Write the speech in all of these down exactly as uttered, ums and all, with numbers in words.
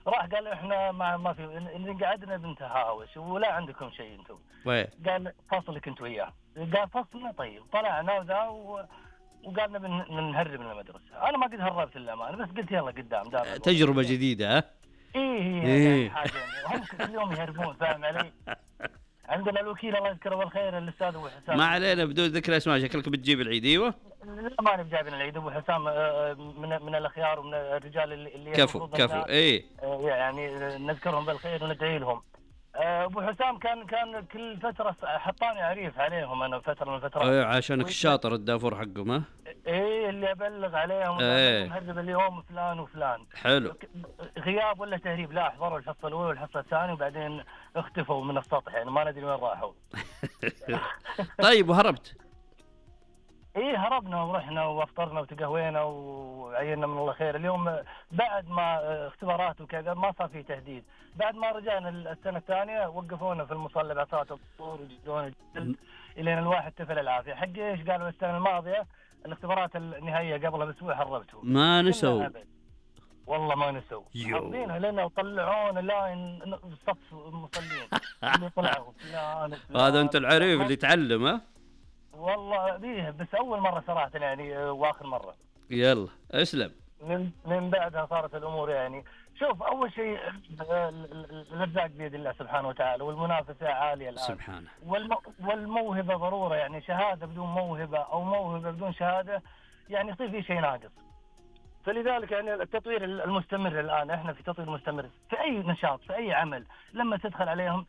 راح قال احنا ما ما في إن قعدنا بنتهاوش ولا عندكم شيء انتم. وين؟ قال فصلك انت وياه. قال فصلنا طيب طلعنا وذا و... وقالنا بنهرب من المدرسة. أنا ما قد هربت إلا ما أنا بس قلت يلا قدام دار تجربة جديدة ها؟ إيه هي إيه. يعني حاجة هم كل يوم يهربون فاهم علي؟ عندنا الوكيل الله يذكره بالخير الأستاذ أبو حسام. ما علينا بدون ذكر اسماء شكلك بتجيب العيد ايوه؟ لا ما أنا بجايبين العيد أبو حسام من من الأخيار ومن الرجال اللي كفو كفو إيه يعني نذكرهم بالخير وندعي لهم. أبو حسام كان كان كل فترة حطاني عريف عليهم أنا فترة من الفترات. إيه عشانك الشاطر الدافور حقهم ها؟ إيه اللي أبلغ عليهم إيه نهرب اليوم فلان وفلان. حلو. غياب ولا تهريب لا حضروا الحصة الأولى والحصة الثانية وبعدين اختفوا من السطح يعني ما ندري وين راحوا. طيب وهربت؟ إيه هربنا ورحنا وافطرنا وتقهوينا وعينا من الله خير. اليوم بعد ما اختبارات وكذا ما صار فيه تهديد. بعد ما رجعنا السنة الثانية وقفونا في المصلى بعصات الطور وجدونا جلد إلين الواحد تفل العافية. حق إيش قالوا السنة الماضية الاختبارات النهائية قبلها بأسبوع هربتوا. ما نسوا. والله ما نسوا. حاطينها لنا وطلعونا لا صف المصلين اللي طلعوا. هذا أنت العريف اللي تعلم ها؟ والله بيه بس أول مرة صراحة يعني وآخر مرة. يلا اسلم. من من بعدها صارت الأمور يعني شوف أول شيء الرزاق بيد الله سبحانه وتعالى والمنافسة عالية الآن. سبحانه. والمو والموهبة ضرورة يعني شهادة بدون موهبة أو موهبة بدون شهادة يعني يصير في شيء ناقص. فلذلك يعني التطوير المستمر الآن احنا في تطوير مستمر في أي نشاط في أي عمل. لما تدخل عليهم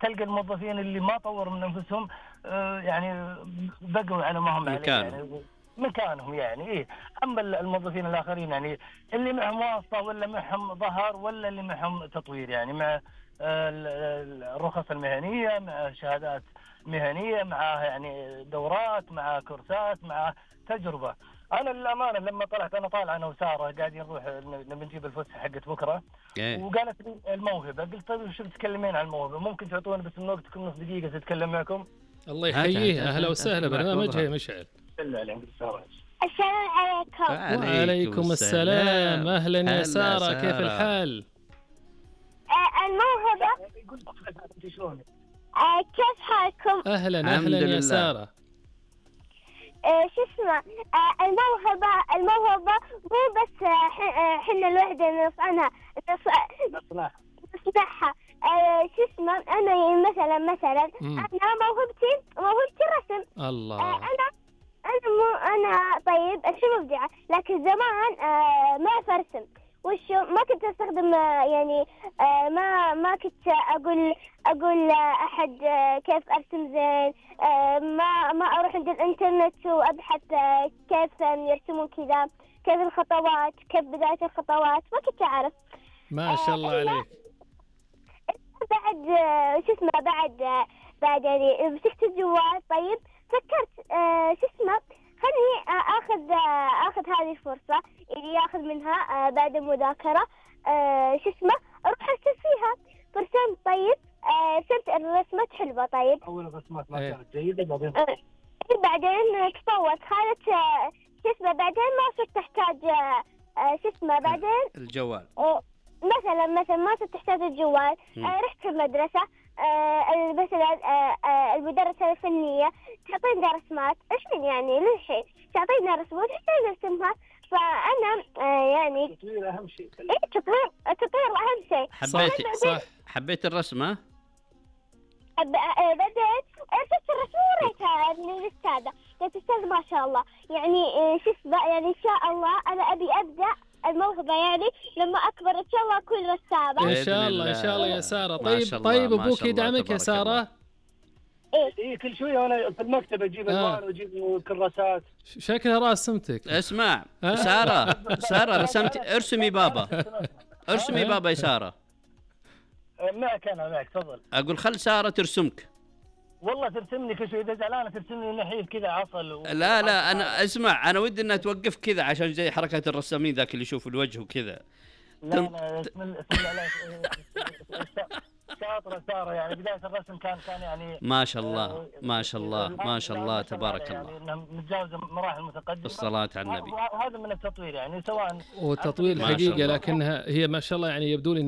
تلقى الموظفين اللي ما طوروا من أنفسهم يعني بقوا على ما هم عليه يعني مكانهم يعني إيه. أما الموظفين الآخرين يعني اللي معهم واسطة ولا معهم ظهر ولا اللي معهم تطوير يعني مع الرخص المهنية مع شهادات مهنية مع يعني دورات مع كورسات مع تجربة. أنا للأمانة لما طلعت أنا طالع أنا وسارة قاعدين نروح نبي نجيب الفسحة حقت بكرة وقالت لي الموهبة. قلت طيب شو بتتكلمين عن الموهبة ممكن تعطونا بس من وقتكم نص دقيقة تتكلم معكم. الله يحييه أهلا وسهلا برنامجها يا مشعل. السلام عليكم. وعليكم السلام أهلا يا سارة كيف الحال؟ الموهبة كيف حالكم؟ أهلا أهلا يا سارة. شو اسمه الموهبة الموهبة مو بس حنا الوحدة نصنعها نصنعها نصنعها شو اسمه أنا مثلا مثلا أنا موهبتي موهبتي الرسم. الله. أنا أنا مو أنا طيب شو مبدعة لكن زمان ما أعرف أرسم وشو ما كنت أستخدم يعني ما ما كنت أقول أقول لأحد كيف أرسم زين. ما ما أروح عند الإنترنت وأبحث كيف يرسمون كذا كيف الخطوات كيف بداية الخطوات ما كنت أعرف. ما شاء الله عليك. بعد شو اسمه بعد بعد يعني مسكت الجوال طيب فكرت شو اسمه خلني اخذ اخذ هذه الفرصه اللي ياخذ منها بعد المذاكره شو اسمه اروح ارسم فيها فرسمت طيب رسمت الرسمات حلوه طيب اول رسمات ما كانت جيده بعدين بعدين تطورت خالت شو اسمه بعدين ما صرت تحتاج شو اسمه بعدين الجوال مثلا مثلا ما صرت تحتاج الجوال. رحت المدرسه مثلا المدرسة الفنية تعطينا رسمات إيش من يعني للحين تعطينا رسمات إحنا نرسمها. فأنا يعني التطوير أهم شيء. إيه التطوير التطوير أهم شيء. حبيت صح حبيت الرسم ها؟ بدأت رسمت الرسم وريتها للأستاذة قلت أستاذ ما شاء الله يعني شو اسمه يعني إن شاء الله أنا أبي أبدأ الموهبة يعني لما أكبر إن شاء الله أكون رسامة. إن شاء الله إن شاء الله يا سارة. طيب طيب أبوك يدعمك يا سارة؟ إيه إيه كل شوية أنا في المكتب أجيب ألوان وأجيب كراسات. شكلها راسمتك. اسمع سارة سارة رسمت ارسمي بابا ارسمي بابا يا سارة. معك أنا معك تفضل. أقول خل سارة ترسمك. والله ترسمني كل شوي إذا زعلانة ترسمني نحيف كذا عصل و... لا لا أنا أسمع أنا ودي إنها توقف كذا عشان زي حركة الرسامين ذاك اللي يشوف الوجه وكذا. لا لا اسم الله شاطرة سارة يعني بداية الرسم كان كان يعني ما شاء الله ما شاء الله ما شاء الله تبارك الله يعني متجاوزة مراحل متقدمة. الصلاة على النبي. وهذا من التطوير يعني سواء والتطوير الحقيقة لكنها هي ما شاء الله يعني يبدو لي